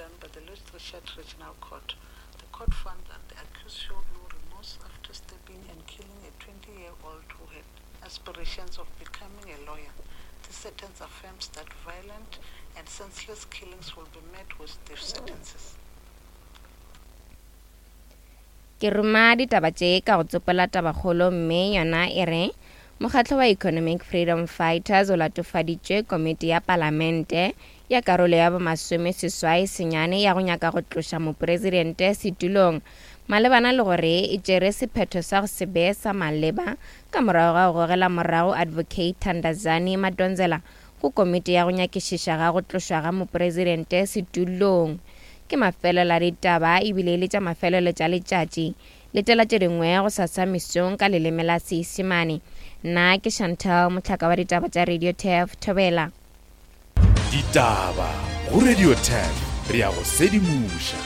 done by the Louis Richard Regional Court. The court found that the accused showed no remorse after stabbing and killing a 20-year-old who had aspirations of becoming a lawyer. This sentence affirms that violent and senseless killings will be met with death sentences. Ke ruma ditaba tše ka go tsopola tabakgolo mme yona e re Mokgatlo wa Economic Freedom Fighters o latofaditše komiti ya palamente ya karolo ya bomasomeseswai senyane ya go nyaka go tloša mopresidente setulong malebana le gore e tšere sephetho sa go se be sa maleba ka morago ga go gogela morago Advocate Thandazani Madonsela go komiti ya go nyakišiša ga go tlošwa ga mopresidente setulong. Ke mafelelo a ditaba ebile e le tša mafelelo tša letšatši. Letela tše dingwe go sasa mesong ka leleme la Seisemane. Nna ke Chantal, mohlaka wa ditaba tša Radio Turf, Thobela. Ditaba go Radio Turf, re a go sedimoša.